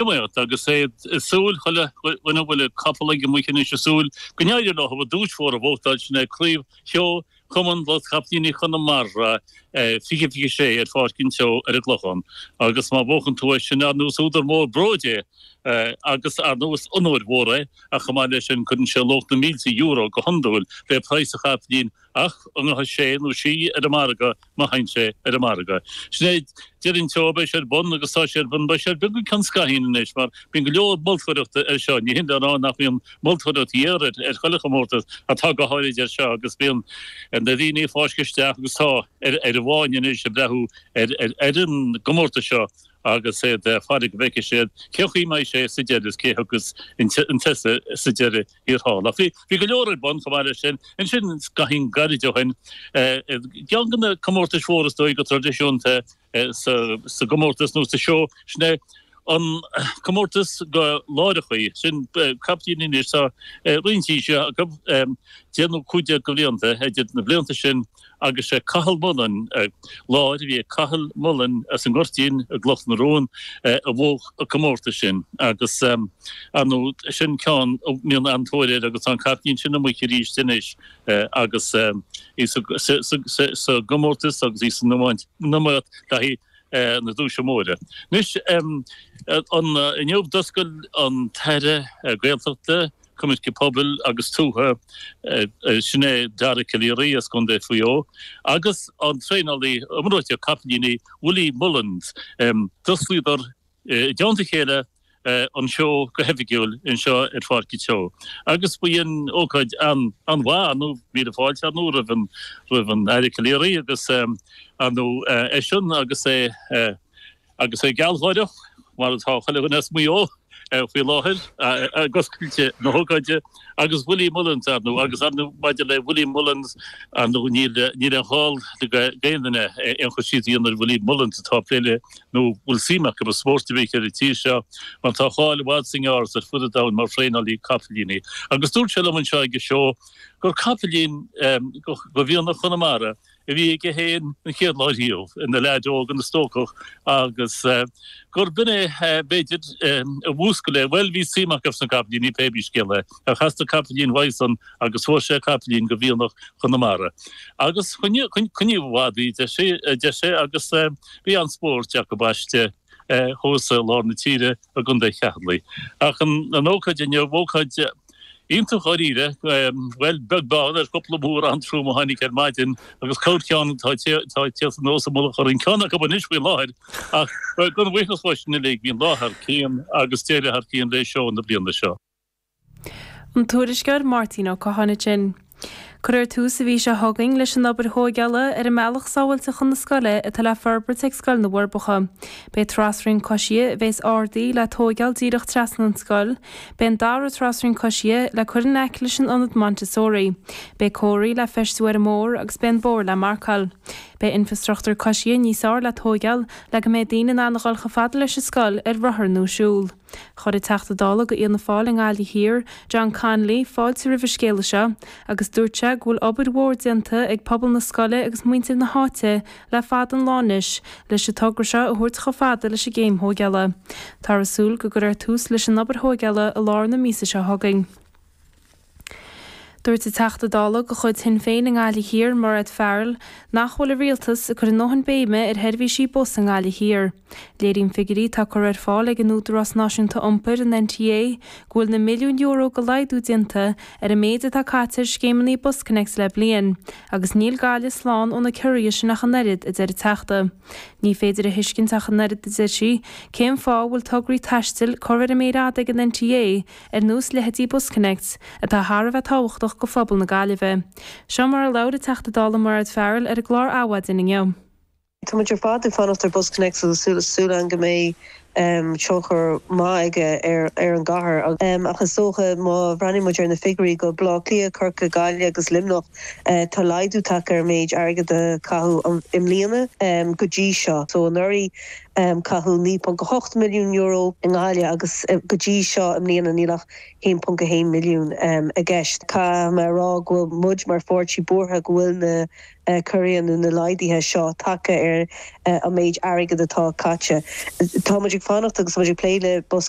Iomaíocht agus é ag súil, chuile dhuine a bhfuil capall aige amuigh anois ag súil go n-éireoidh leo an duais mhór a bhuachtáil, sin é Craobh Sheó Chumann Lucht Capaillíní Chonamara 2026 ar Pháirc an tSeó ar an gClochán. Agus má bhuachann tú é sin, ar ndóigh is údar mór bróid é agus ar ndóigh is onóir mhór é ach chomh maith leis sin cuireann sé luach na mílte euro go hiondúil le praghas an chapaillín ach a ngabhfaidh sé nó sí ar an margadh má théann sé ar an margadh. Sin é deireadh an tseó, beidh sé ar bun agus tá sé ar bun, beidh sé ar bun go ceann scaithín anois mar bíonn go leor moltóireachta air seo, ní hin le rá nach mbíonn moltóireacht ghéar ar chuile chomórtas ach tá go háirid air seo agus bíonn na daoine ag fáisceadh isteach agus tá ar an bhfáinne anois ag breathú ar an gcomórtas seo agus iad ag faire go bhfeicfidh siad cén chaoi a mbeidh sé sa deireadh is cé thiocfas chun tosaigh sa deireadh thiar thall. Ach bhí go leor ar bun chomh maith leis sin. Ansin scaithín gairid ó shin, ceann de na comórtais mhóra is dóigh go traidisiúnta sa gcomórtas nó sa seó, sin é an comórtas do láireachaí, sin capaillíní anois, tá roinnt aoise acu, 10 nó 15 de bhlianta, idir na blianta sin agus sé Cathal Mullen, láir a bhí ag Cathal Mullen as an nGoirtín i gCloch na Rón a bhuaigh an comórtas sin agus ar ndóigh sin ceann a mbíonn an-tóir air agus tá an capaillín sin amuigh arís anois agus í sa gcomórtas agus í san iomaíocht le haghaidh na duaise móire. Anois inniu d'oscail an tAire Gaeltachta, Coimirce Pobail agus Tuaithe, sin é Dara Calleary as Contae Mhaigh Eo, agus an traenálaí iomráiteach capaillíní Willie Mullins. D'osclaíodar i dteannta a chéile an seó go hoifigiúil anseo ar Pháirc an tSeó agus ba í an ócáid an-mhaith, ar ndóigh, míle fáilte ar ndóigh roimh an roimh an Aire Calleary agus ar ndóigh eisean agus é Agus é gealgháireach, mar atá chuile dhuine as Maigh Eo faoi láthair, ag oscailt na hócáide, agus Willie Mullins, ar ndóigh, agus ar ndóigh maidir le Willie Mullins, ar ndóigh, níl níl aon ghá d'aon duine aon chur síos a dhéanamh ar Willie Mullins atá ag plé le nó bhfuil suim acu i spórt ar bith ar an tír seo, mar tá a cháil i bhfad is i ngearr ar fud an domhain mar thraenálaí capaillíní. Agus dúirt sé liom anseo ag an seó gur capaillín de mhianach Chonamara a bhí aige féin an chéad lá riamh, ina leaid óg, ina stócach, agus gur b'in é, b'fhéidir, a mhúscail é. Bhuel, bhí suim acu sna capaillíní, pé bí scéal é, ach theastaigh capaillín uaidhsan agus fuair sé capaillín de mhianach Chonamara. Agus coinníodh i bhfad í, deir sé, agus bhí an-spórt acu aisti thuas i lár na tíre. i gContae Cheatharlaigh. Ach an ócáid inniu, ócáid iontach dháiríre, bhuel, beag beann ar chúpla múr an-trom a tháinig ar maidin agus corrcheann atá ag tíocht anuas i mullach orainn, ceann acu anois faoi láthair, ach gan bhuíochas leo sin uilig, bhí an lá thar cionn agus deireadh thar cionn le seó na bliana seo. An tuairisceoir Máirtín Ó Catháin ansin. Cuirfear tús an mhí seo chugainn leis an obair thóigeála ar an mbealach sábháilte chun na scoile atá le forbairt ag Scoil na bhForbacha. Beidh trasrian coisithe a bheas ardaithe le tóigeáil díreach trasna an scoil. Beidh an dara trasrian coisithe le cur in aice leis an ionad Montessori. Beidh comharthaí le feistiú ar an mbóthar agus beidh an bóthar le marcáil. Beidh infreastruchtúr coisithe níos fearr le tóigeáil le go mbeidh daoine in ann a dhul chomh fada leis an scoil ar rothar nó siúl. Chuir an Teachta Dála do Fhianna Fáil i nGaillimh Thiar, John Connolly, fáilte roimh an scéala seo agus dúirt sé go bhfuil obair mhór déanta ag pobal na scoile agus muintir na háite le fada an lá anois leis an togra seo a thabhairt chomh fada leis an gcéim thóigeála. Táthar ag súil go gcuirfear tús leis an obair thóigeála i lár na míosa seo chugainn. Dúirt an Teachta Dála de chuid Shinn Féin i nGaillimh Thiar, Mairéad Farrell, nach bhfuil an Rialtas ag cur a ndóthain béime ar sheirbhísí bus i nGaillimh Thiar. Léiríonn figiúirí atá curtha ar fáil ag an Údarás Náisiúnta Iompair, an NTA, go bhfuil na milliúin euro de laghdú déanta ar an méid atá caite ar scéimeanna BusConnects le bliain, agus níl Gaillimh slán ó na ciorruithe sin ach an oiread, a deir an Teachta. Ní féidir a thuiscint ach an oiread, a deir sí, cén fáth a bhfuil tograí taistil curtha ar an méar fhada ag an NTA, ar nós leithéidí BusConnects, atá thar a bheith tábhachtach go phobal na Gaillimhe. Seo mar a labhair an Teachta Dála Mairéad Farrell ar an gclár Adhmhaidin inniu. Tá muid ar fad ag fanacht ar BusConnects agus súil againn go mbeidh tionchar maith aige ar an gcathair. Ach is dócha má bhreathnaíonn muid ar na figiúirí go Baile Átha Cliath, Corcaigh, Gaillimh agus Luimneach, tá laghdú tagtha ar an méid airgid a caitheadh i mbliana go dtí seo. So anuraidh. Caitheadh €9.8 milliún i nGaillimh agus go dtí seo i mbliana níl ach 1.1 milliún i gceist. Caithfidh mé a rá go bhfuil muid mar pháirtí buartha go bhfuil na corruithe nó na laghduithe seo tagtha ar an méid airgid atá caite. Tá muid ag fanacht agus muid ag plé le BusConnects.